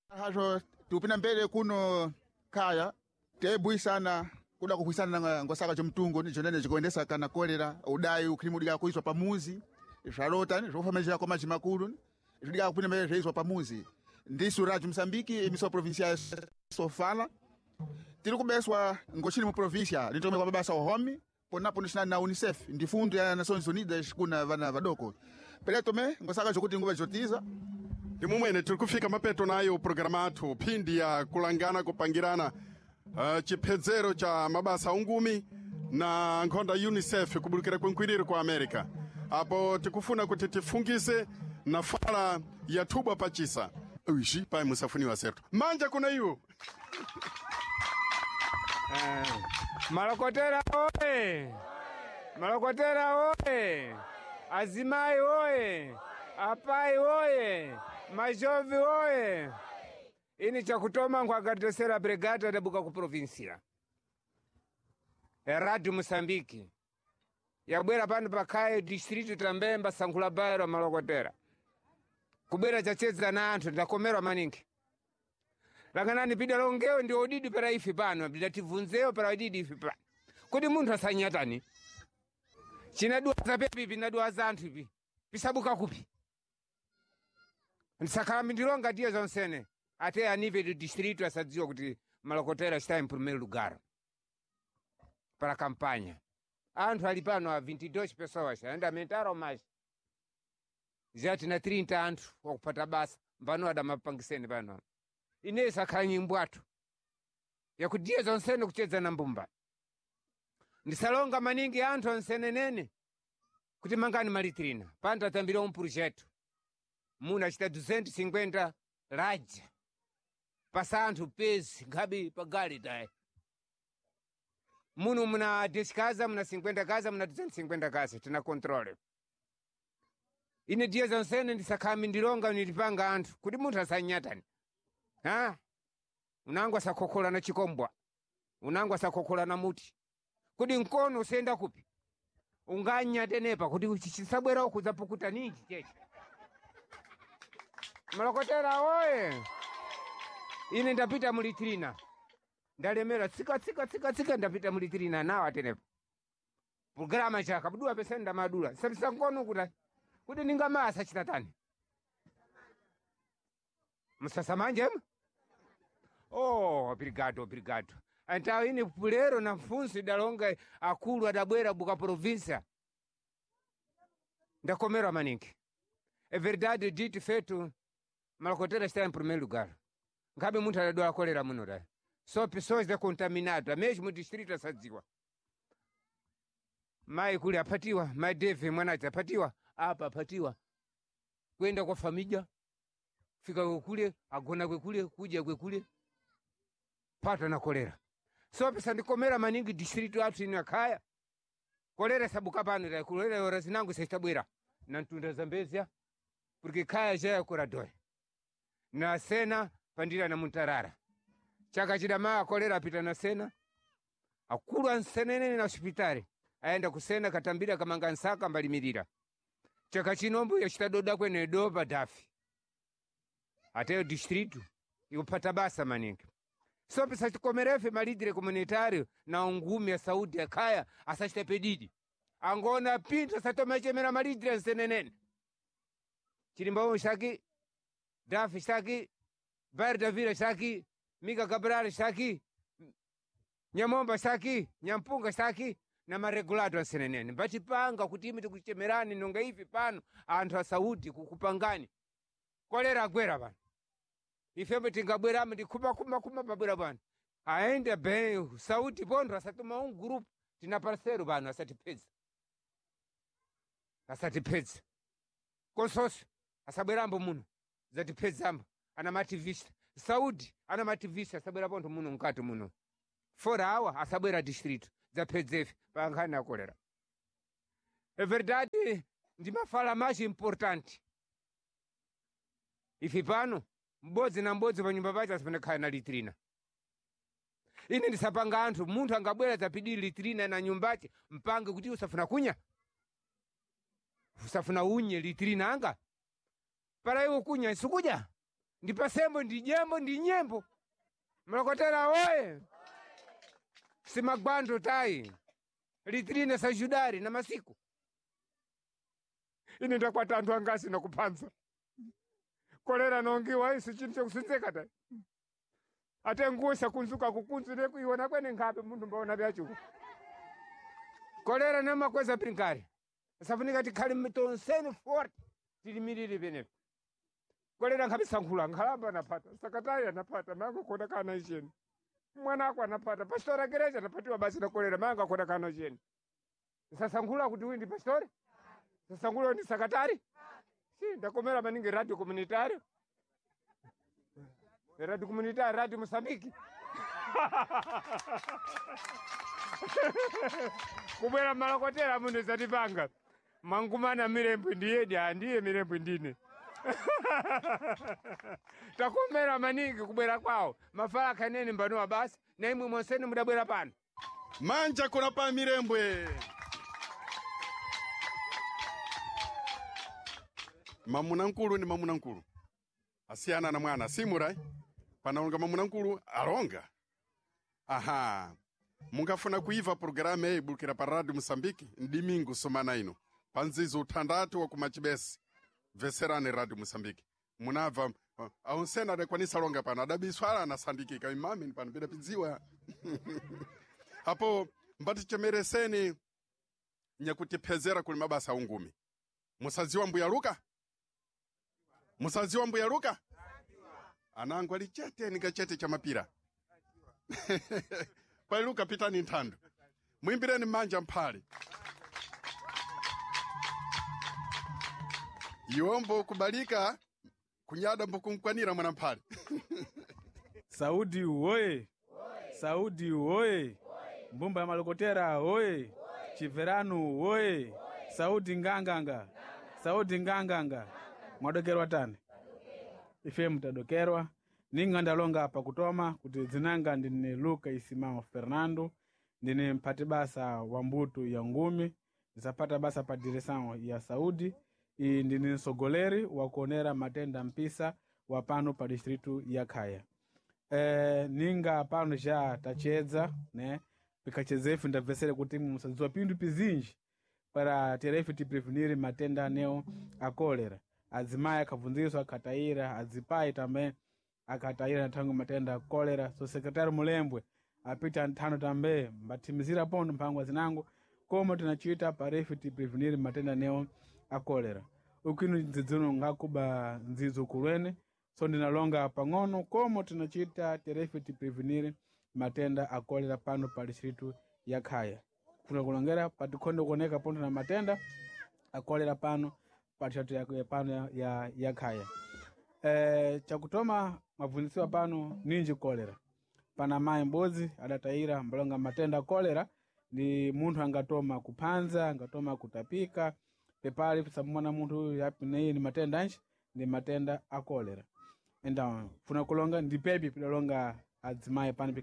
Hazo tupina mbele kuno kaya tebwisana kuda kuhwisana na ngosaka chomtungo ni chonene chikuendesa kana kolera udayi ukhilimu dika kuiswa pamuzi zvalota zvofamizira kwa maji makulu zvidika kupina mbele zveiswa pamuzi ndisu Radio Msambiki emissão provincial sofala tiri kubeswa ngochini mu província litome kwa mabasa ohomi ponapo nixinani na UNICEF ndi fundo ya Nações Unidas kuna vana vadoko pele tome ngosaka chokuti nguva jotiza Ndi mumwene tiri kufika mapeto nayo programa athu phindi ya kulangana kupangirana chiphedzero cha mabasa ungumi na nkhonda UNICEF kubulukira kwenkwiriri kwa America. Apo tikufuna kuti tifungise na fala ya thubwa pachisa uixi pai musafuniwa certo manja kuna iwo. Malokotera oye! Malokotera oye! Azimai oye! Apai oye! Majovi oye! Ini chakutoma nkuagradecera brigada dabuka ku provincia Radio Mosambiki yabwera pano pakhaye distrito tambemba sankhula bairo malokotera kubwera chachedza na anthu ndakomerwa maningi langanani pida longewo ndi odidi para ife pano bidatibvunzewo para odidi ife pano kuti munthu asanyatani chinadwaza pepi pinadwaza anthu ipi pisabuka kupi ndisakhala mindilonga tiye zonsene ate a nível do distrito asadziwa kuti malokotera está em primeiro lugar para a campanha. Anthu ali pano a 22 pessoas ainda aumentaram mais já tina 30 anthu wakupata basa mbano adamapangiseni pano ine sakhala nyimbo athu yakudiya zonsene kuchedza na mbumba ndisalonga maningi anthu onsenenene kuti mangani malitrina pano tatambira um projeto muno achita 250 laja pasa anthu pezi nkhabe pagali tayi muno muna 10 casa muna 50 casa muna 250 casa tina controle ine diya zonsene ndisakhami ndilonga nilipanga anthu kuti munthu asanyatani ha unango asakhokhola na chikombwa unango asakhokhola na muti kuti mkono usenda kupi unganyatenepa kuti chisabwera uku zapukuta ninji cheche malokotera oye ine ndapita mulitrina ndalemera tsika tsika tsika tsika ndapita mulitrina nawo atenepa programa chaka buduwa pese ndamadula sabisa mkono kuti kuti ningamasa chitatani musasamanje oh obrigado obrigado então ine pulero na mfunso idalonga akulu adabwera buka província ndakomerwa maningi é verdade dito feito malokotera está em primeiro lugar ngabe munthu adadwala kolera muno ta só pessoas decontaminadas mesmo distrito asadziwa mai kuli apatiwa mai deve mwanace apatiwa apa apatiwa kwenda kwa famija fika kwekule agona kwekule kudya kwekule pata na kolera so pesa ndikomera maningi distrito athu ino akhaya kolera sabuka pano ta kolera ora zinango saitabwera na mtunda zambezia porque khaya jaya kuradoi na sena pandira na muntarara chaka chidamaya kolera apita na sena akulu ansenenene na hospitali ayenda kusena katambira kamanga nsaka mbalimirira chaka chinombo yachitadoda kwene dopa dafi ateyo distrito ikupata basa maningi so pisachikomerefe malidire comunitário na ungumi ya saúde akhaya asachita pedidi angona pinto asatomechemera malidire nsenenene chilimbawo xaki dafi xaki bairro da vila xaki mika cabral xaki nyamomba xaki nyampunga xaki na maregulato ansenenene mbachipanga kuti imi tikuchemerani nonga ivi pano anthu a saúde kukupangani kolera agwera pano ifembe tingabweramo ndikhumakhuma pabwera pano aende bem saúde pontho asatuma um grupo tina parceiro pano asatipedza asatipedza consórcio asabwerambo muno zatipedzambo ana mativista saúde ana mativista asabwera pontho muno mkati muno fora awa asabwera distrito dzapedzefe pankhani akolera é verdade ndimafala mais importante ife pano m'bodzi na m'bodzi pa nyumba pace asipanakhala na litrina ine ndisapanga anthu munthu angabwera zapidiri litrina na nyumbace mpange kuti usafuna kunya usafuna unye litrina anga para iwe kunya sukudya Ndi pasembo ndi jembo ndi nyembo. Mlokotera oye. Simagwando tai. Litrine sa judari na masiku. Ine ndakwata anthu angasi nakuphanza. Kolera nongiwa isu chintu chokusunzeka tai. Ate nguo sakunzuka kukunzu nekuiona kwene nkhape munthu mbaona vyachuku. Kolera namakweza brinkari. Safunika tikhale tonseni forte tilimirire penepo. Kolera nkhabe sankhula nkhalamba anapata, sakatari anapata, mango kona kana icheni. Mwana ako anapata, pastora gereja anapatiwa basi na kolera, mango akona kana icheni. Sasankhula kuti uyu ndi pastore? Sasankhula ndi sakatari? Si, ndakomera maningi radio comunitario. Radio comunitario, radio Mosambiki. Kubwera malokotera muno zatipanga. Mangumana mirembwe ndiyedi, andiye mirembwe ndine. Takomera maningi kubwera kwawo. Mafala kanene mbanowa basi, na imwe monseni mudabwera pano. Manja kuna pa mirembwe. Mamuna nkulu ni mamuna nkulu. Asiyana na mwana simurai. Panaonga mamuna nkulu alonga. Aha. Mungafuna kuiva programu eyi bulukira pa Radio Mosambiki ndimingu sumana ino. Panzizo uthandatu wa kumachibesi. Veserani Radio Mosambiki. Munabva aonsena adakwanisa longa pano adabiswala anasandikika imami pano pidapidziwa. Apo mbatichemereseni nyakutiphezera kuli mabasa ungumi. Musadziwa mbuya Luka? Musadziwa mbuya Luka? Anangu ali chete ninga chete cha mapira. Pai Luka pitani nthando. Muimbireni manja mphale. Iwombo kubalika kunyada mbukumkwanira mwana mphale. Saudi oye! Saudi oye! Mbumba ya malokotera oye! Chiveranu oye! Saudi nganganga! Saudi nganganga! Mwadokerwa tani? Ife mtadokerwa. Ninga ndalonga apa kutoma kuti dzinanga ndine Luka Isimao Fernando, ndine mphati basa wa mbuto ya ngumi, ndisapata basa pa direção ya Saudi, iyi ndine msogoleri wa kuonera matenda mpisa wa pano pa distritu ya Khaya. Ninga pano já tachedza né pikachedza ife ndabvesere kuti musadziwa pindu pizinji para terefe tiprevenire matenda aneo a kolera. Adzimayi akabvunziswa akatayira, adzipayi tambe akatayira nathango matenda a kolera. So sekretari Mulembwe apita nthano tambe mbathimizira pondo mphangwa zinango koma tinachita parefe tiprevenire matenda aneo a kolera. Ukwinu ndzidzino ngakuba ndzidzo kulwene so ndinalonga pang'ono komo tinachita terefe tiprevenire matenda a kolera pano pa distritu ya Khaya. Kuna kulongera patikhonde kuoneka pondo na matenda a kolera pano pa distritu ya, pano ya Khaya. Chakutoma mabvunzisiwa pano ninji kolera. Pana mayi m'bodzi adatayira mbalonga matenda a kolera ni munthu angatoma kuphanza, angatoma kutapika, pepali pisamumona munthu uyu api neye ni matenda anji ni matenda a kolera. Então, funa kulonga ndipepi pidalonga adzimayi pano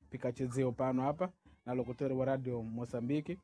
pikachezewo pano apa na lokotori wa Radio Mosambiki.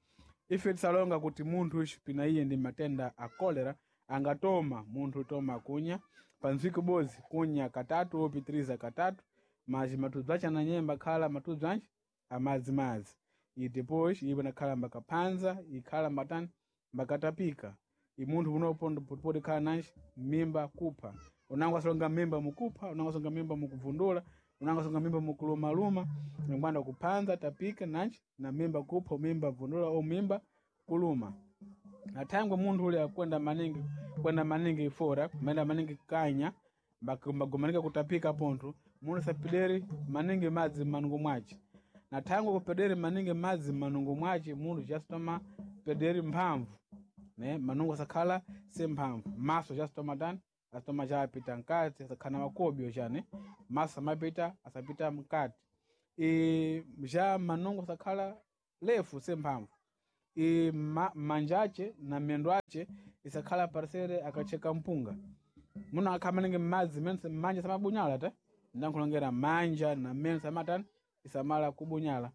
Ife tisalonga kuti munthu uyu pina iye ndi matenda a kolera angatoma munthu toma kunya panzwiki bodzi kunya katatu opitiriza katatu maji matudzu ache ananyemba khala matudzu anji amadzimadzi. I depois iwo nakhala mbakaphanza ikhala mbatani mbakatapika. I munthu unopo poti khala nanji mimba kupha. Unango asolonga mimba mukupha, unango asolonga mimba mukuvundula, unango asolonga mimba mukulumaluma, ngwanda kuphanza tapika nanji na mimba kupha, mimba vundula au mimba kuluma. Nathangwe munthu ule akwenda maningi kwenda maningi fora, kumenda maningi kanya, mbagomanika kutapika pontho, munthu sapideri maningi madzi m'manungo mwace. Nathangwe kupederi maningi madzi m'manungo mwace munthu chasitoma pederi mphamvu. Ne manungo asakhala semphamvu. Maso chasitoma tani asitoma chapita mkati asakhala na makobyo chane maso amapita asapita mkati. E já manungo asakhala lefu semphamvu. E manja ace na mendo ace isakhala parsere akacheka mpunga. Muno akhala maningi madzi manja samabunyala ta ndankhulongera manja na meno samatani isamala kubunyala.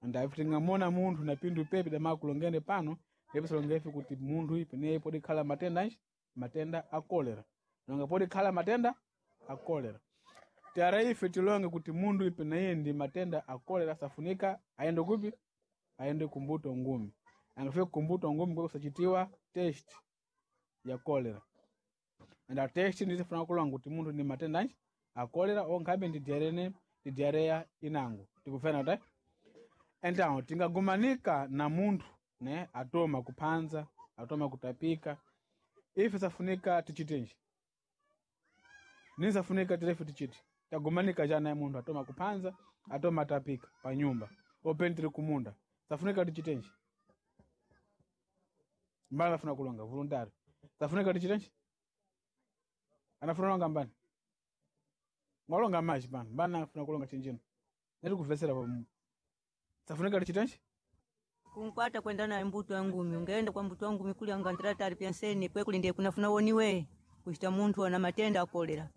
Ndafi tingamona munthu na pindu pepi damakulongene pano ndipo ife kuti munthu ipi neye podi khala matenda anji matenda a kolera. Nonga podi khala matenda a a kolera. Tara ife tilonge kuti mundu ipe naye ndi matenda a kolera safunika aende kupi? Aende kumbuto ngumi. Angafika kumbuto ngumi kwa kusachitiwa test ya kolera. Enda test ndizifuna kulonga kuti mundu ndi matenda anji a kolera onkhabe ndi diarene ndi diarrhea inango. Tikufena ta? Então tingagumanika na munthu ne atoma kuphanza, atoma kutapika. Ife safunika tichitenji. Nisafunika tirefu tichiti. Tagumanika jana ya munthu atoma kuphanza, atoma tapika pa nyumba. Open tiri kumunda. Safunika tichitenji. Mbala afuna kulonga voluntary. Safunika tichitenji. Anafuna kulonga mbani? Mwalonga maji pano. Mbani afuna kulonga chinjino. Neti kuvesera pa safunika tichitenji. Kunkwata kwenda naye mbuto ya ngumi, ungeenda kwa mbuto wa ngumi kuli angandira tari penseni kwe kulinde kunafuna woniwe kuchita munthu ana matenda a kolera.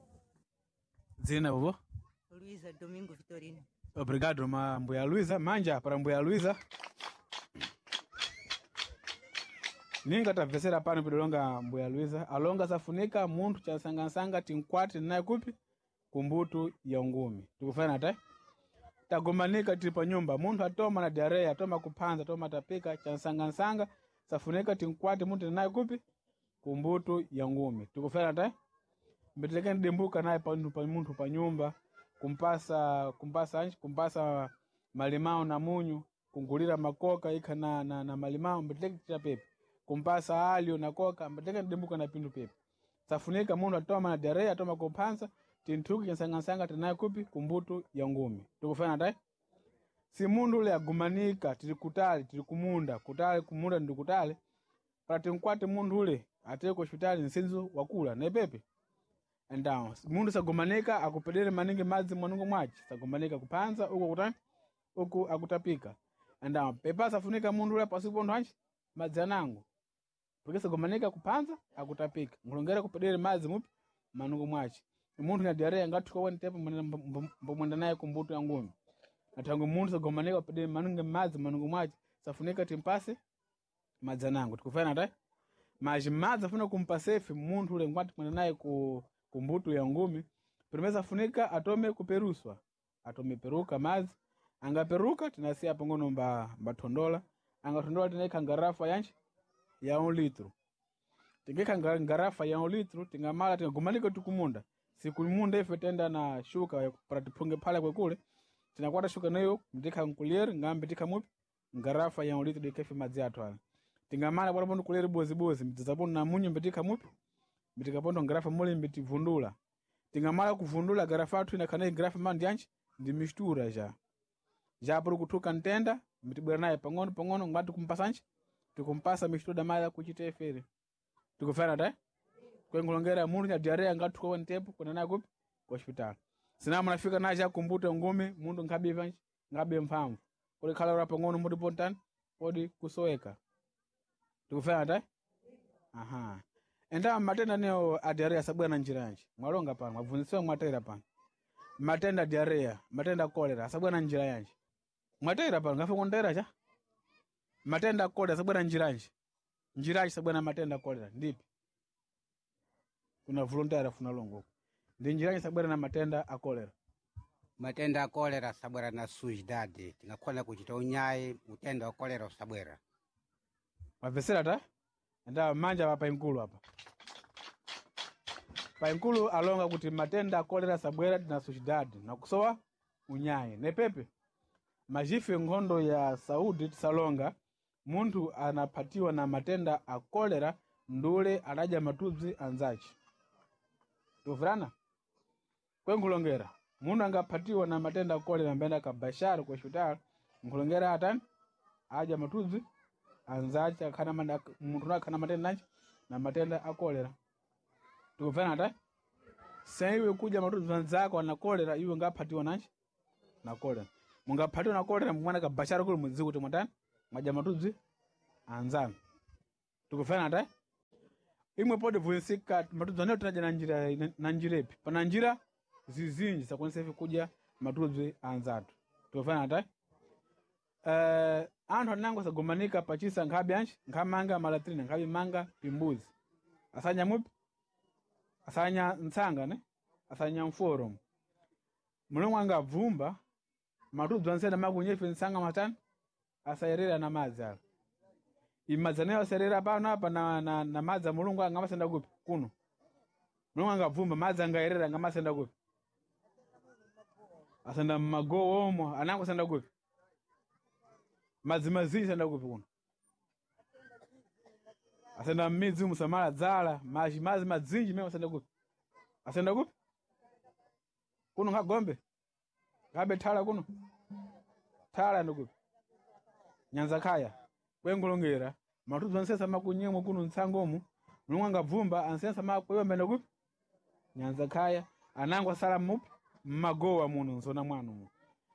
Dzina bobo? Luiza Domingo Vitorino. Obrigado, ma mbuya Luiza. Manja para mbuya Luiza. Ninga tabvesera pano pidolonga mbuya Luiza. Alonga safunika munthu chasangasanga tinkwati naye kupi kumbutu ya ngumi. Tikufana ta? Tagomanika tili pa nyumba. Munthu atoma na diarrhea, atoma kuphanza, atoma tapika chansangasanga safunika tinkwati munthu naye kupi kumbutu ya ngumi. Tikufana ta? Mbetelekeni dimbuka naye pa pa munthu pa nyumba kumpasa kumpasa anji kumpasa malimao na munyu kungulira makoka ikha na malimao mbeteleke tita pepe kumpasa alio na koka mbeteleke dimbuka na pindu pepe safunika munthu atoma na diarrhea atoma kuphansa tinthuki chansangasanga tinaye kupi kumbutu ya ngumi. Tikufana ta? Si munthu ule agumanika tili kutali tili kumunda kutali kumunda ndi kutali para tinkwate munthu ule ateye ku hospitali nsinzu wakula na pepe. Então, mundu sagomanika akupedere maningi madzi mwanungu mwace sagomanika kuphanza uku kutani uku akutapika. Então, pepa safunika mundu ule pasipo nthu anji madzi anango porque sagomanika kuphanza akutapika nkulongera kupedere madzi mupi manungu mwace. Munthu na diarrhea ngathuka weni tepo mbomwenda naye kumbuto ya ngumi. Nathango munthu sagomanika kupedere maningi madzi manungu mwace safunika timpase madzi anango. Tikufana ta? Maji madzi afuna kumpasefi munthu ule ngwati mwenda naye ku kumbutu ya ngumi. Primeiro afunika atome kuperuswa. Atome peruka madzi. Angaperuka tinasiya pangono mba mbathondola. Angathondola tinaikha ngarafa yanji ya 1 litro. Tingekha ngarafa ya 1 litro tingamala tingagumanika tikumunda. Sikumunda ife tenda na shuka para tiphunge phala kwekule. Tinakwata shuka nayo ndikha nkulier ngambe tikha mupi ngarafa ya 1 litro dikefe madzi athu ala. Tingamala bwana pondo kulier bozi bozi mtidzapondo na munyu mbetikha mupi mitikapondo ngarafa muli mitivundula. Tingamala kuvundula garafa athu inakhana garafa mandi yanji ndi mistura ja. Ja puri kuthuka ntenda mitibwera naye pang'ono pang'ono ngati kumpasanji tikumpasa mistura damala kuchita efere. Tikufana ta? Kwenkulongera munthu nya diarrhea ngathuka weni tepo kuna naye kupi ku hospital. Sina munafika naye cha kumbuta ngumi munthu nkhabe vanji ngabe mphamvu. Kuli khala ura pang'ono muti pontani podi kusoweka. Tikufana ta? Aha. Enda matenda neo a diarrhea sabwera na njira yanji. Mwalonga pano, mwabvunzisiwa mwatera pano. Matenda a diarrhea, matenda a kolera asabwera na njira yanji. Mwatera pano, ngafe kuntera cha? Matenda a kolera asabwera na njira yanji. Njira yanji sabwera na matenda a kolera ndipi? Kuna volunteer afuna longo huko. Ndi njira yanji sabwera na matenda a kolera. Matenda a kolera sabwera na sujdade tingakhona kuchita unyayi utenda wa kolera usabwera. Mwabvesera ta? Enda manja pa painkulu apa. Painkulu alonga kuti matenda a kolera sabwera tina sucidade nakusowa unyayi nepepe. Majife nkhondo ya Saudi tisalonga munthu anaphatiwa na matenda a kolera ndule adadya matubzi anzace. Tikufirana? Kwenkulongera munthu angaphatiwa na matenda a kolera amene akabashara ku hospital nkulongera atani adya matubzi anzace akhana munthu akhana matenda anji na matenda a kolera. Tikufana ta? Saiwe kudya matubzi anzako ana kolera iwe ngaphatiwa nanji na kolera. Mungaphatiwa na kolera mwana kabashara kuli mudziku kuti mwatani mwadya matubzi anzanu. Tikufana ta? Imwe pode vunsika matubzi aneyo tinadya na njira na njira ipi? Pana njira zizinji sakwanisa ife kudya matubzi anzathu. Tikufana ta? Anthu anango asagomanika pachisa nkhabe anji nkhamanga malatrina nkhabe manga pimbuzi. Asanya mupi? Asanya ntsanga ne? Asanyamforo mulungu angabvumba matudzu ansena makunyefe nsanga matani asayerera na madzi ala imadzi anayo asayerera pano apa na madzi a mulungu angamasenda kupi kuno mulungu angabvumba madzi angayerera angamasenda kupi asenda mmagowo omwe anango asenda kupi madzi mazinji asenda kupi kuno asenda mmidzi musamala dzala mazi madzi madzinji mene asenda kupi asenda kupi kuno ngagombe ngabe thala kuno thala ndikupi nyanza khaya kwengulongera matudzu ansesa makunyemwe kuno ntsangomu mulungu angabvumba ansesa makweyombe ndikupi nyanza khaya anango asala mupi mmagowa muno nzona mwanu mu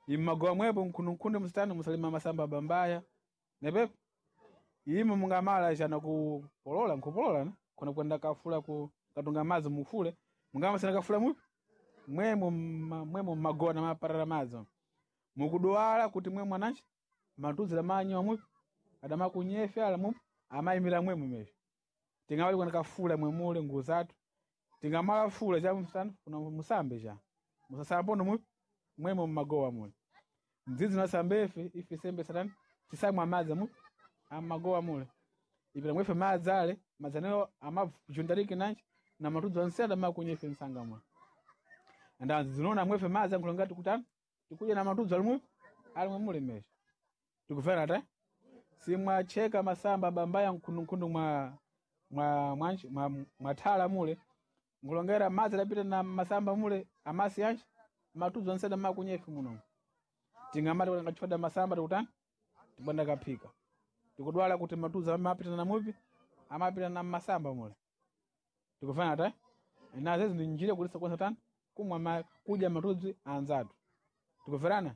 immagowa mwepo nkhununkhunde musitani musalima masamba bambaya nepepo imo mungamala chana kupolola nkupolola ne kuna kwenda kafula ku katunga madzi mufule mungamasena kafula mupi mwemo mwemo mmagowa na maparara madzi mukudwala kuti mwe mwananchi matudzi lamanyiwa mupi adamakunyefe ala mupi amayimira mwemo mesho tingamali kwenda kafula mwemule nguo zathu tingamala fula cha msana kuna musambe cha musasambono mupi mwemo mmagowa mule mdzidzi nasambefe ife sembe satani tisamwa madzi mupi amagowa mule ipita mwefe madzi ale madzi anewo amavundarike nanji na matudzi anse adamakunyefe msanga mule andanzi zinoona mwefe madzi ankhulonga tikutani tikudya na matudzi ali mupi ali mwemule mesho tikufera ta simwacheka masamba bambaya nkhundunkhundu mwa mwa mwanji mwa mwathala mule nkulongera madzi adapita na masamba mule amasi anji matudzi anse adamakunyefe muno tingamati kuti angachoda masamba tikutani tibwanda kaphika tikudwala kuti matudzi amapita na mupi amapita na masamba mule tikufana ta nazezi ndi njira kuti sakwanisa tani kumwa kudya matudzi anzathu tikuferana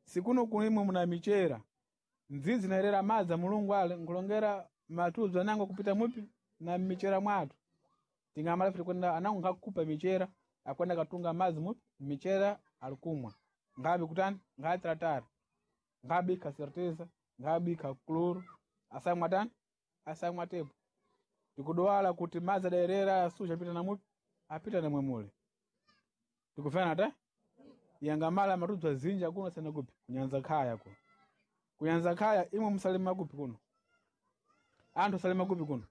sikuno kulimwe muna michera ndzidzi naerera madzi a mulungu ale nkulongera matudzi anango kupita mupi na michera mwathu tingamala fiti kwenda anango nkakupa michera akwenda katunga madzi mupi michera alikumwa ngabi kutani ngatratara ngabika certeza ngabika kloro asamwa tani asamwa tepo tikudwala kuti madzi adaerera asuja apita na mupi apita na mwemule tikufana ta yangamala matudzi azinji kuno sena kupi kunyanza khaya kuno kunyanza khaya imwe musalima kupi kuno anthu salima kupi kuno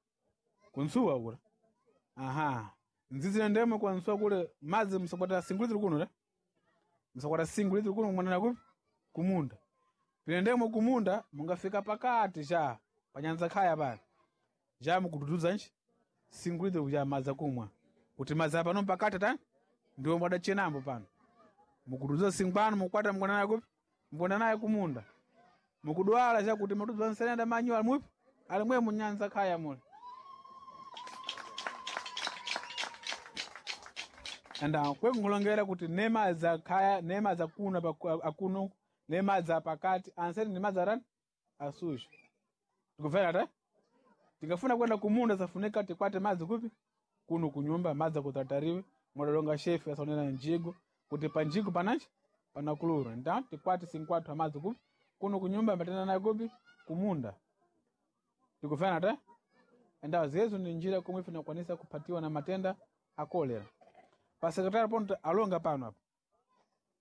kunsuwa kula aha nzizi ndemwe kwa nsuwa kule madzi msakwata singuliziri kuno ta msakwata singuliziri kuno mwanana kupi kumunda pine ndemwe kumunda mungafika pakati cha panyanza khaya pale ja mukudududza nchi singuliziri kuja madzi akumwa kuti madzi apano pakati ta ndiwo mwadachenambo pano mukududza singwano mukwata mukwanana kupi mukwanana naye kumunda mukudwala chakuti matudzi ansenenda manyu ali mupi ali mwe munyanza khaya mule anda kwekunkulongera kuti nemadzi akhaya nemadzi akuno akuno nemadzi apakati anseni ndi madzi arani asuja tikufera ta tikafuna kwenda kumunda safunika tikwate madzi kupi kuno kunyumba madzi akutatariwe mwadalonga shefe asaonera njigo kuti pa njigo panachi pana kuluro nda tikwate sinkwathu amadzi kupi kuno kunyumba mbatana nayo kupi kumunda tikufana ta endawo zezo ni njira komwe ife tinakwanisa kuphatiwa na matenda a kolera pa sekretari ponto alonga pano apa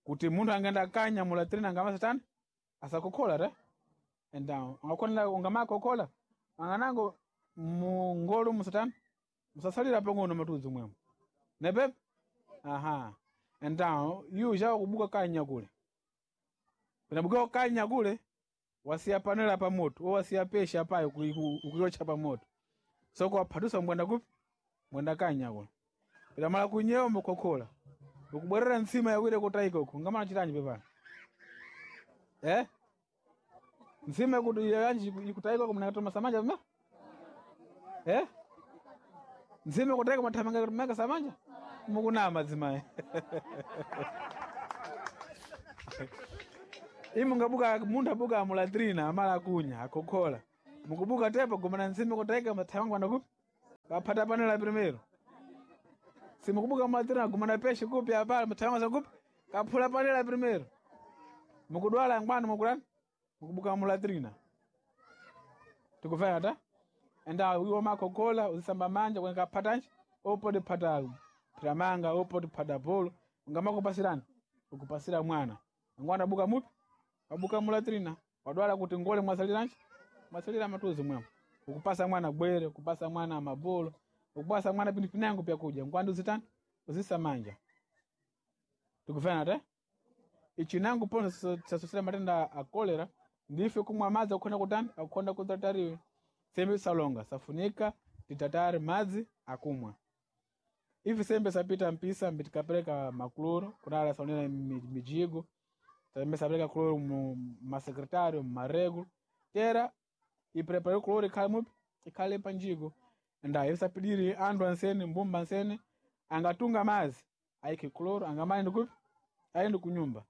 kuti munthu angenda kanyamula trina angamasatani asakokhola ta endawo angakhonela ungamakokola anganango mungolo musatani musasalira pang'ono matudzi mwemo nepepo aha endawo yu chawo kubuka kanya kule pinabuka kanya kule wasiya panela pa moto wo wasiya pesha payo ukuyocha pa moto soko waphatusa mbwenda kupi mbwenda kanya kule pitamala kunyewa mukhokola ukubwerera ntsima yakwire kutayika uku ngamala chitanji pepano eh ntsima kuti yanji ikutayika uku mnakatoma samanja pema eh ntsima kutayika mathamanga maka samanja mukunama dzimayi imu ngabuka munthu abuka amulatrina amala akunya akhokhola mukubuka tepo gomana ntsima kutayika mathamanga pano kupi kaphata panela primero simukubuka mulatrina gomana peshe kupi apala mathamanga sakupi kaphula panela primero mukudwala ngwani mukulani mukubuka mulatrina tikufana ta enda iwo makhokhola uzisamba manja kwenye kaphatanji opode phata Tiramanga upo tiphada bolo ungamakupasirani ukupasira mwana angwana buka mupi wabuka mulatrina wadwala kuti ngole mwasaliranji mwasalira matuzi mwemo ukupasa mwana gwere ukupasa mwana mabolo ukupasa mwana pindu pinango pyakuja ngwandu zitani uzisamanja tikufana te ichinango pono sasosera matenda a kolera ndife kumwa madzi akukhonda kutani akukhonda kutatariwe sembe salonga safunika titatare madzi akumwa ivi sembe sapita mpisa mbitikapereka makloro kunala saonera mijigo sembe sapereka kloro mu masekretário mumarego tera iprepare kloro ikhale mupi ikhale panjigo nda ivi sapidiri andu ansene mbumba ansene angatunga madzi aike kloro angamali kupi aende kunyumba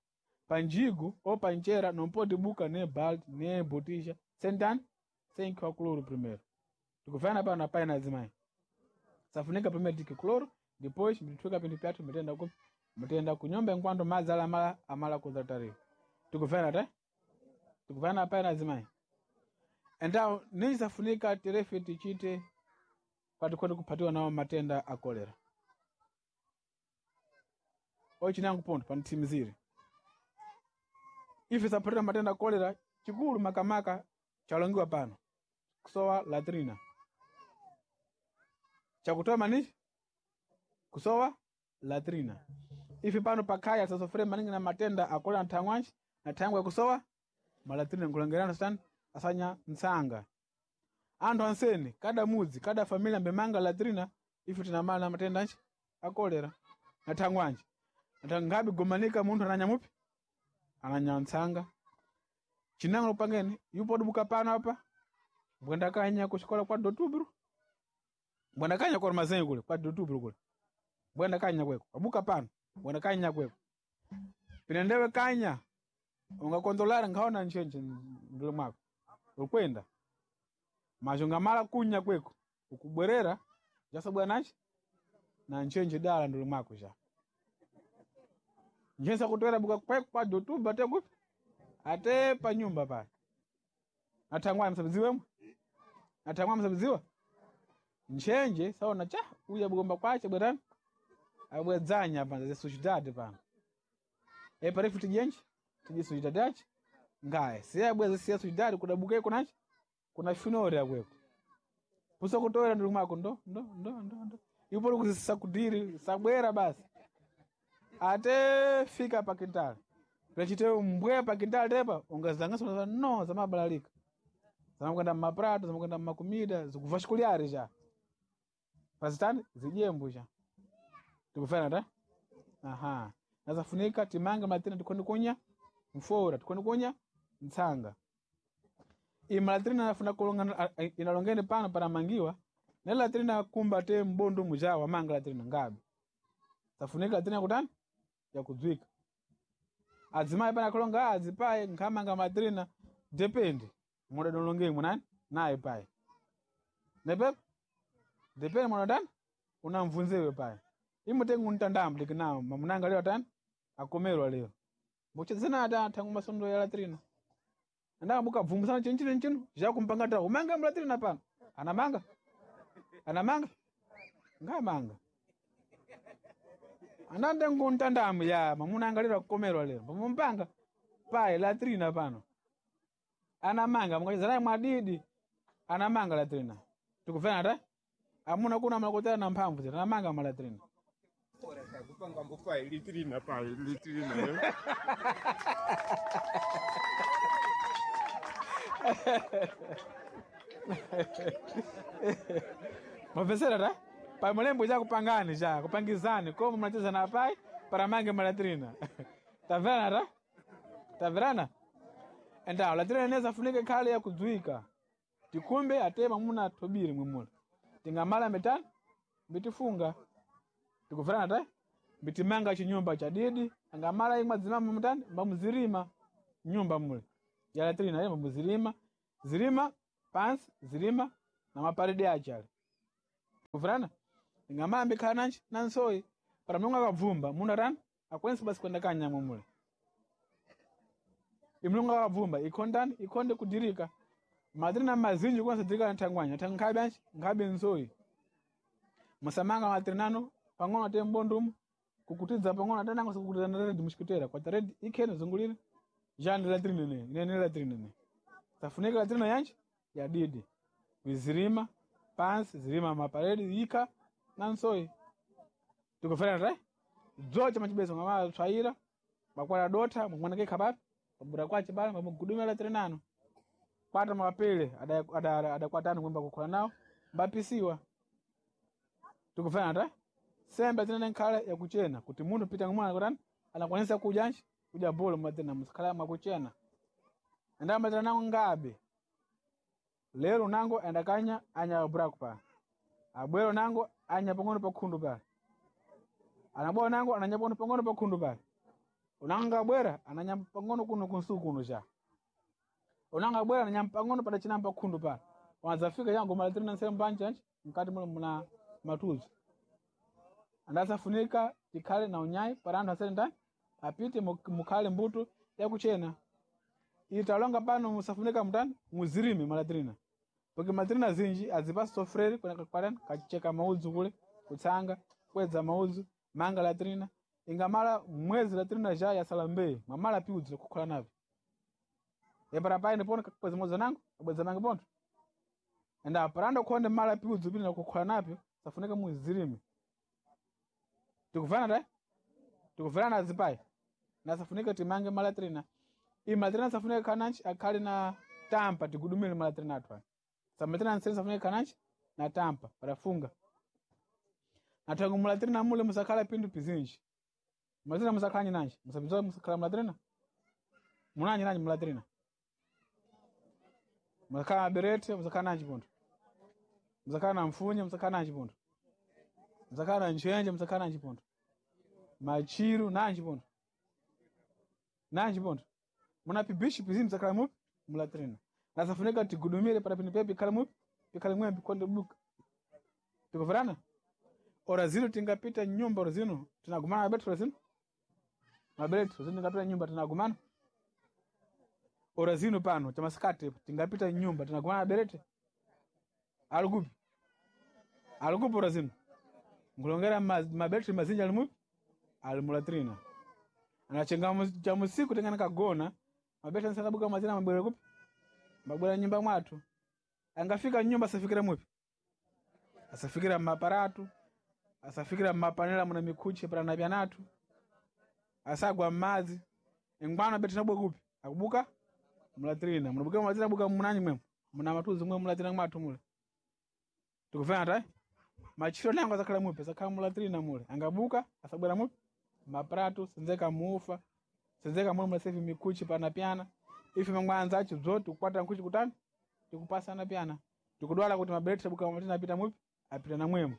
panjigo ou panchera não pode buka nem balde nem botija sentani sem que o cloro primeiro tikufana pano apai na adzimai safunika primeiro tike cloro depois mitwika pindu pyathu mitenda ku mitenda kunyumba enquanto madzi ala amala amala kuzatariwa tikufana te tikufana apai na adzimai então nem safunika terefe tichite patikhonde kuphatiwa nawo matenda a kolera ochinango ponto panitsimizire ife saphatira matenda a kolera chikulu makamaka chalongiwa pano kusowa latrina chakutoa manichi kusowa latrina ife pano pakhaya sasofere maningi na matenda a kolera nthangwanji na thangwe kusowa malatrina nkulangerana sitani asanya ntsanga anthu ansene kada mudzi kada familia mbemanga latrina ife tinamala na matenda anji a kolera na thangwanji ngabi gomanika munthu ananyamupi ananyantsanga chinango pangene yupo dubuka pano apa mbwenda kanya kuxikola kwa dotubro mbwenda kanya kwa mazengo kule kwa dotubro kule mbwenda kanya kweko abuka pano mbwenda kanya kweko pinendewe kanya ungakondolara ngaona nchenche ndule mwako ukwenda mazhonga kunya kweko ukubwerera jasabwa nachi na nchenche dala ndule mwako ja njensa kutwera buka kweko kwa dotuba te kupi ate pa nyumba pale atangwa msabiziwemwe atangwa msabiziwa nchenje saona cha uya bugomba kwache bwerani abwedzanya panza zesuchitati pano e parefu tijenje tiji suchitati achi ngaye siya bweze siya suchitati kudabuka iko nachi kuna finori akweko puso kutowera nduli mwako ndo ndo ndo ndo ndo ipo likusakudiri sabwera basi ate fika pa quintal pechite mbwe pa quintal tepa ungazangaso no zamabalalika zamakwenda mmaprato zamakwenda mmakumida zikuva xikulyari xa pazitani zijembu xa tikufana ta aha nazafunika timange malatrina tikhoni kunya mfora tikhoni kunya ntsanga iyi malatrina nafuna kulonga inalongene pano panamangiwa ne latrina kumba te mbundu muja wamanga latrina ngabe safunika latrina kutani yakudzwika adzimai pana kulonga adzipaye nkhamanga matrina depende mudadolonge munani naye paye nepepo depende mwanatani unamvunzewe paye imutenga untandambo likinawo mamunanga leo tani akomerwa leo mbuchezena ata thangu masondo ya latrina ndanga mukabvumbusana chinchino nchino zvakumpanga ta umanga mulatrina pano anamanga anamanga ngamanga andande nguntandamu ya mamuna lero akukomerwa lero pamumpanga paye latrina pano anamanga mukachezanaye mwadidi anamanga latrina tikufana ta amuna kuna malakotera na mphamvu zera anamanga malatrina kupanga mbupai litrina pai litrina mapesera ta pamulembo chakupangani cha kupangizani komo mnacheza na pai para mange malatrina tamverana ta tamverana endawo latrina ineza funike khale yakudzwika tikumbe ate mamuna thobiri mwimula tingamala mitani mbitifunga tikuverana ta mbitimanga chinyumba cha didi angamala imwe adzimama mutani mbamuzirima nyumba mule ya latrina ye mbamuzirima zirima pansi zirima na maparede ache ale kuvurana ngamambe khala nanji nansoyi para mulungu akabvumba munhu atani akwensi basi kwenda kanyamwa mule imulungu akabvumba ikhondani ikhonde kudirika matrina mazinji kwanza dirika na thangwanya thang nkhabe anji nkhabe nsoyi musamanga matrinano Pang'ono ate mbondumu kukutiza pang'ono ate nango sikukutiza na redi mushikitera kwa redi ikhene zungulire jandi latrine ne inene latrine ne safunika latrine yanji yadidi vizirima pansi zirima maparedi ika na nsoyi tikufanana tai dzocha machibeso ngama tswaira makwala dota mwanake khapapi pabura kwache bala mamugudumira latrine ano kwata mapele adakwatana kwemba kukhola nawo mbapisiwa tikufanana tai sembe tinene nkhala yakuchena kuti munthu pita ngumwana kutani anakwanisa kudyanji kudya bolo matena musikhala mwakuchena andamatira nango ngabe lero nango andakanya anya buraku pa abwero nango anya pang'ono pakhundu pale anabwera nango ananya pang'ono pang'ono pakhundu pale unanga abwera ananya pang'ono kuno kunsuku kuno cha unanga abwera ananya pang'ono padachina pakhundu pale wanzafika chango malatirina nsele mbanjanji mkati mule muna matuzo andasafunika tikhale na unyayi para anthu asene ndani apite mukhale mbuto yakuchena italonga pano musafunika mutani muzirime malatrina porque malatrina zinji azipasi sofrere kwatani kachicheka maudzu kule kutsanga kwedza maudzu manga latrina ingamala mwezi latrina ja yasala mbei mwamala piudzu kukhola navyo epara paine pono kakwedza maudzu nango abwedza mange ponto enda paranda kukhonde mala piudzu pina kukhola napyo safunika muzirime tikuvana dai tikuvana na zipai nasafunika timange malatrina iyi malatrina safunika kananchi akhale na tampa tigudumire malatrina athu aya samalatrina nsene safunika kananchi na tampa parafunga nathangu mulatrina mule musakhala pindu pizinji mulatrina musakhala nyinanji musapinzoa musakhala mulatrina munanji nanji mulatrina musakhala maberete musakhala nanji punto musakhala na mfunye musakhala nanji punto musakhala na ntchentche musakhala nanji punto machiru nanji punto nanji punto muna pibishi pizimu msakhala mupi mulatrina nasafunika tigudumire para pino pepi pikhale mupi pikhale mwembi konde buka tikuverana ora zino tingapita nyumba ora zino tinagumana mabetu ora zino mabetu zino tingapita nyumba tinagumana ora zino pano chamasikati tingapita nyumba tinagumana maberete alikupi alikupi ora zino nkulongera mabetu mazinji ali mupi ali mulatrina anachenga cha musiku tengana kagona mabeta nsakabuka mazina mabwera kupi mabwera nyumba mwathu angafika nyumba asafikira mupi asafikira mmaparatu asafikira mmapanela muna mikhuche paranapyanathu asagwa mmadzi ingwano beti nabwe kupi akubuka mulatrina munabuka mulatrina buka munanyi mwemo muna matuzi mwe mulatrina mwathu mule tikufana tai machiro nango asakhala mupi asakhala mulatrina mule angabuka asabwera mupi mapratu senzeka mufa senzeka mule mulasevi mikuchi pana pyana ife mangwanza acho bzo tikukwata nkuchi kutani tikupasana pyana tikudwala kuti mabereti abuka mulatrina apita mupi apita na mwemo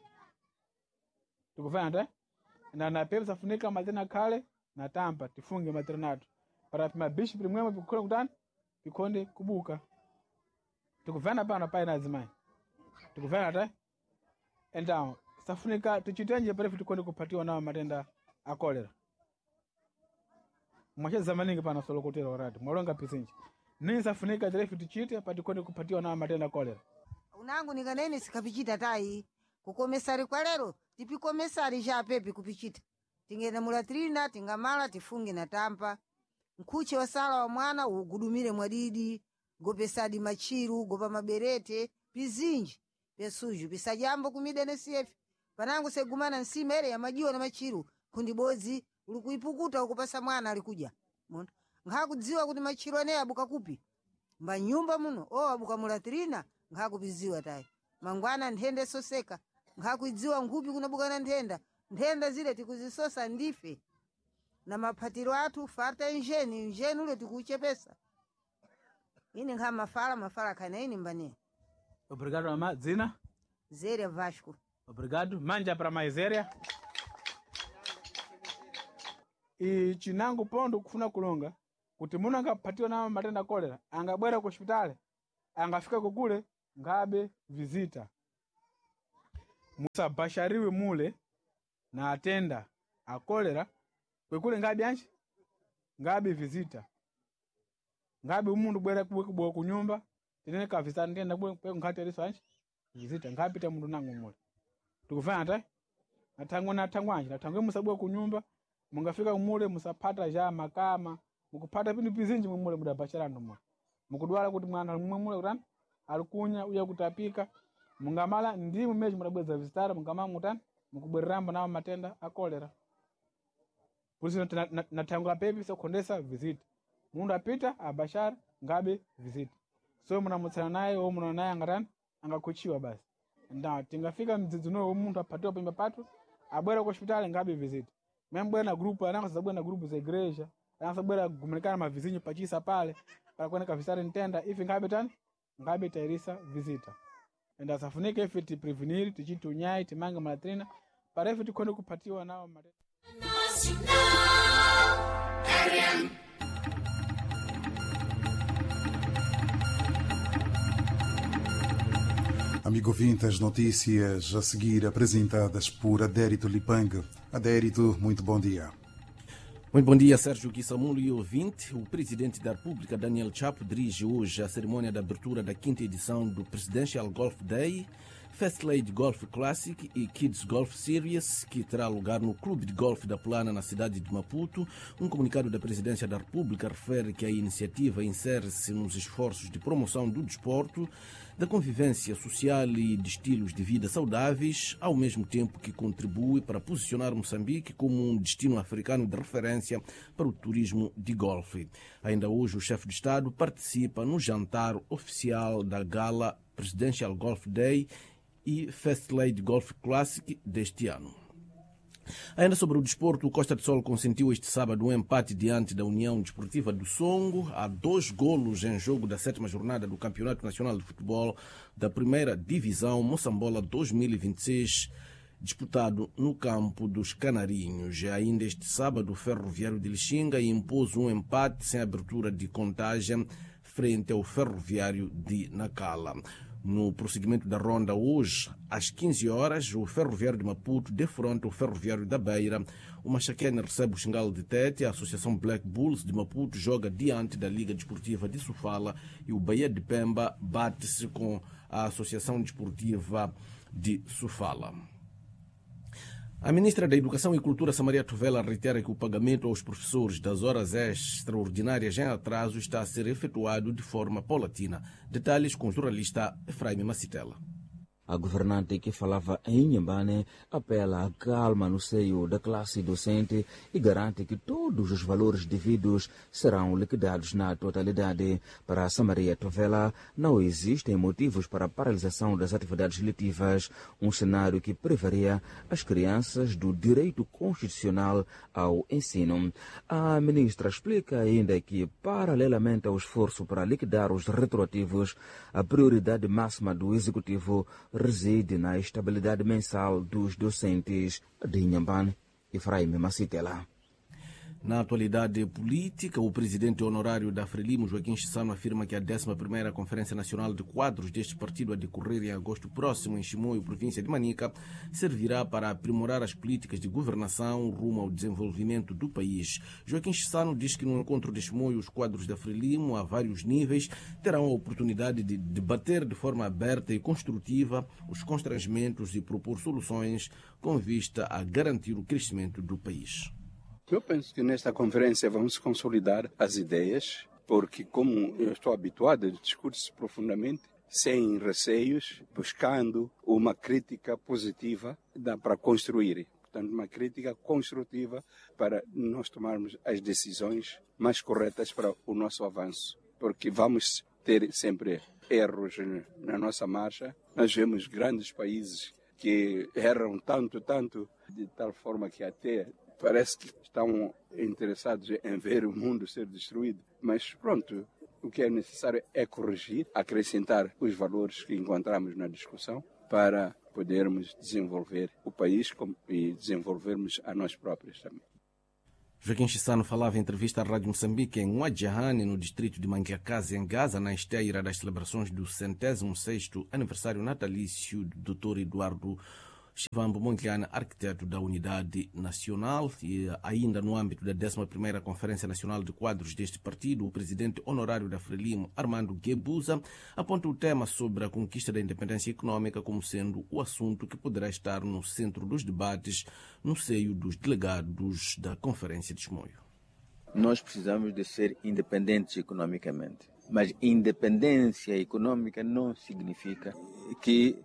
tikufana tai na napepa safunika matrina khale na tampa tifunge matrina athu para mabishi pilimwemo pikukhole kutani pikhonde kubuka tikuvana pano pai na azimayi tikuvana tai então safunika tichitenje parefu tikhonde kuphatiwa nawo matenda a kolera mwacheza maningi pano solokotera orati mwalonga pisinji nini safunika tirefu tichite patikhonde kuphatiwa nawo matenda a kolera unangu nikanene sikapichita tayi kukomesari kwa lero tipikomesari chapepi kupichita tingenda mulatrina tingamala tifunge na tampa nkhuche wasala wa mwana ugudumire mwadidi gopesadi machiru gopa maberete pizinji pyesuju pisajambo kumida nesiyefe panangu segumana nsima ere ya majiwa na machiru kundi bodzi ulikuipukuta ukupasa mwana alikuja mona nkhakudziwa kuti machiru aneyo abuka kupi mbanyumba muno o abuka mulatrina nkhakupiziwa tayi mangwana nthenda esoseka nkhakuidziwa nkhupi kunabukana nthenda nthenda zile tikuzisosa ndife na maphatiro athu farta injeni injeni ule tikuuchepesa ini nkha mafala mafala khana ini mbaniya obrigado mama dzina Zéria Vasco. Obrigado. Manja para Maizéria. E chinango pondo kufuna kulonga kuti munthu angaphatiwa na matenda a kolera angabwera ku hospitali angafika kukule ngabe visita musabashariwe mule na atenda a kolera kwekule ngabe anji ngabe visita ngabe umuntu bwera kubwe kunyumba tinene ka visita ndenda bwe nkhati aliso anji visita ngapita mundu nango mule tikufana tai Nathangwe nathangwanji nathangwe musabwe kunyumba mungafika mule musapata ja makama mukupata pindu pizinji mwemule mudabachara anthu mwe mukudwala kuti mwana ali mwe mule kutani alikunya uya kutapika mungamala ndimwe mechi mudabweza visitara mungamala mutani mukubwererambo nawo matenda a kolera polisi nathangula pepi sokhondesa visita mundu apita abashara ngabe visita so munamutsana naye wo munaona naye angatani angakhuchiwa basi nda tingafika mdzidzi unowo munthu aphatiwa panyumba pathu abwera ku hospitali ngabe visita membwera na grupu anakasabwera na grupu za igreja anasabwera kugumilikana mavizinho pachisa pale para kuoneka visitari ntenda ife ngabe tani ngabe tairisa visita and asafunike ife tiprevenir tichiti unyai timange malatrina para ife tikhone kuphatiwa nawo matenda. Amigo ouvinte, as notícias a seguir apresentadas por Adérito Lipang. Adérito, muito bom dia. Muito bom dia, Sérgio Kissamulo e ouvinte. O presidente da República, Daniel Chapo, dirige hoje a cerimônia de abertura da quinta edição do Presidential Golf Day, First Lady Golf Classic e Kids Golf Series, que terá lugar no Clube de Golf da Plana, na cidade de Maputo. Um comunicado da Presidência da República refere que a iniciativa insere-se nos esforços de promoção do desporto, da convivência social e de estilos de vida saudáveis, ao mesmo tempo que contribui para posicionar Moçambique como um destino africano de referência para o turismo de golfe. Ainda hoje, o chefe de Estado participa no jantar oficial da gala Presidential Golf Day e First Lady Golf Classic deste ano. Ainda sobre o desporto, o Costa do Sol consentiu este sábado um empate diante da União Desportiva do Songo, a 2 golos em jogo da 7ª jornada do Campeonato Nacional de Futebol da Primeira Divisão Moçambola 2026, disputado no campo dos Canarinhos. Ainda este sábado, o Ferroviário de Lixinga impôs um empate sem abertura de contagem frente ao Ferroviário de Nacala. No prosseguimento da ronda, hoje, às 15 horas, o Ferroviário de Maputo defronta o Ferroviário da Beira. O Maxaquene recebe o Xingal de Tete. A Associação Black Bulls de Maputo joga diante da Liga Desportiva de Sofala e o Bahia de Pemba bate-se com a Associação Desportiva de Sofala. A ministra da Educação e Cultura, Samaria Tovela, reitera que o pagamento aos professores das horas extraordinárias em atraso está a ser efetuado de forma paulatina. Detalhes com o jornalista Efraim Macitela. A governante que falava em Inhambane apela à calma no seio da classe docente e garante que todos os valores devidos serão liquidados na totalidade. Para Samaria Tovela, não existem motivos para a paralisação das atividades letivas, um cenário que privaria as crianças do direito constitucional ao ensino. A ministra explica ainda que, paralelamente ao esforço para liquidar os retroativos, a prioridade máxima do executivo reside na estabilidade mensal dos docentes de Inhambane. Efraim Macitela. Na atualidade política, o presidente honorário da Frelimo, Joaquim Chissano, afirma que a 11ª Conferência Nacional de Quadros deste partido, a decorrer em agosto próximo em Chimoio, província de Manica, servirá para aprimorar as políticas de governação rumo ao desenvolvimento do país. Joaquim Chissano diz que no encontro de Chimoio, os quadros da Frelimo, a vários níveis, terão a oportunidade de debater de forma aberta e construtiva os constrangimentos e propor soluções com vista a garantir o crescimento do país. Eu penso que nesta conferência vamos consolidar as ideias, porque como eu estou habituado, discute-se profundamente, sem receios, buscando uma crítica positiva para construir. Portanto, uma crítica construtiva para nós tomarmos as decisões mais corretas para o nosso avanço, porque vamos ter sempre erros na nossa marcha. Nós vemos grandes países que erram tanto, tanto, de tal forma que até parece que estão interessados em ver o mundo ser destruído. Mas pronto, o que é necessário é corrigir, acrescentar os valores que encontramos na discussão para podermos desenvolver o país e desenvolvermos a nós próprios também. Joaquim Chissano falava em entrevista à Rádio Moçambique em Ouadjahane, no distrito de Manguiacase, em Gaza, na esteira das celebrações do 106º aniversário natalício do Dr. Eduardo Chivambo Mondlane, arquiteto da Unidade Nacional, e ainda no âmbito da 11ª Conferência Nacional de Quadros deste partido, o presidente honorário da Frelimo, Armando Guebuza, aponta o tema sobre a conquista da independência econômica como sendo o assunto que poderá estar no centro dos debates no seio dos delegados da Conferência de Chimoio. Nós precisamos de ser independentes economicamente, mas independência econômica não significa que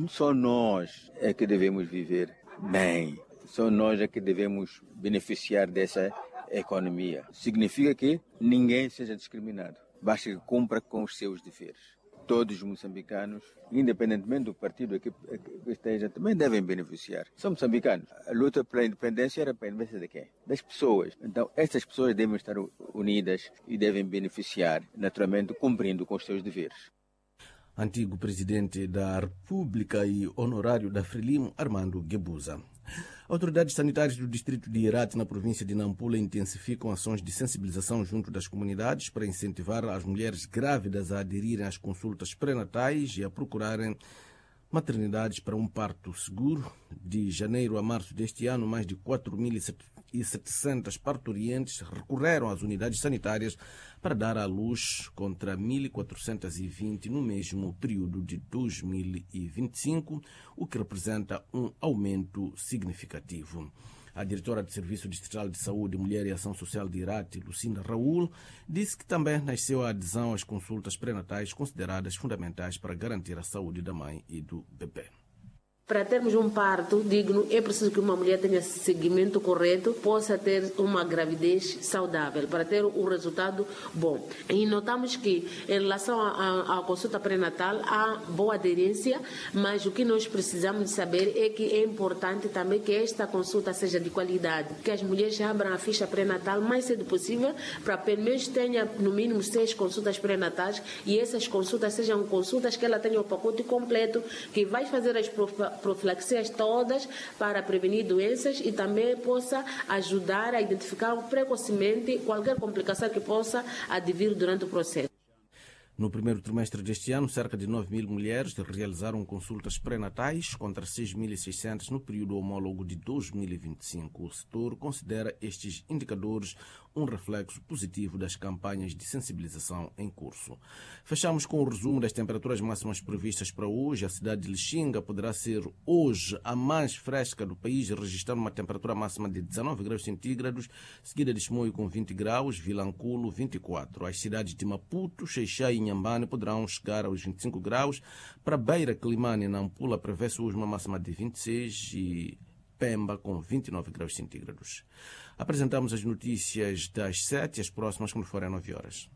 só nós é que devemos viver bem, só nós é que devemos beneficiar dessa economia. Significa que ninguém seja discriminado, basta que cumpra com os seus deveres. Todos os moçambicanos, independentemente do partido que esteja, também devem beneficiar. São moçambicanos. A luta pela independência era pela independência de quem? Das pessoas. Então, estas pessoas devem estar unidas e devem beneficiar, naturalmente, cumprindo com os seus deveres. Antigo presidente da República e honorário da Frelimo, Armando Guebuza. Autoridades sanitárias do distrito de Irati, na província de Nampula, intensificam ações de sensibilização junto das comunidades para incentivar as mulheres grávidas a aderirem às consultas pré-natais e a procurarem maternidades para um parto seguro. De janeiro a março deste ano, mais de 4.700 parturientes recorreram às unidades sanitárias para dar à luz, contra 1.420 no mesmo período de 2025, o que representa um aumento significativo. A diretora do Serviço Distrital de Saúde, Mulher e Ação Social de Irati, Lucinda Raul, disse que também nasceu a adesão às consultas pré-natais consideradas fundamentais para garantir a saúde da mãe e do bebê. Para termos um parto digno, é preciso que uma mulher tenha seguimento correto, possa ter uma gravidez saudável, para ter um resultado bom. E notamos que, em relação à consulta pré-natal, há boa aderência, mas o que nós precisamos saber é que é importante também que esta consulta seja de qualidade, que as mulheres abram a ficha pré-natal mais cedo possível, para pelo menos tenha no mínimo 6 consultas pré-natais, e essas consultas sejam consultas que ela tenha o pacote completo, que vai fazer as profilaxias todas para prevenir doenças e também possa ajudar a identificar precocemente qualquer complicação que possa advir durante o processo. No primeiro trimestre deste ano, cerca de 9 mil mulheres realizaram consultas pré-natais contra 6.600 no período homólogo de 2025. O setor considera estes indicadores um reflexo positivo das campanhas de sensibilização em curso. Fechamos com o resumo das temperaturas máximas previstas para hoje. A cidade de Lixinga poderá ser hoje a mais fresca do país, registrando uma temperatura máxima de 19 graus centígrados, seguida de Chimoio com 20 graus, Vilanculo 24. As cidades de Maputo, Xeixá e Inhambane poderão chegar aos 25 graus. Para Beira, Climane e Nampula prevê-se hoje uma máxima de 26 e Pemba com 29 graus centígrados. Apresentamos as notícias das 7 e as próximas quando forem 9 horas.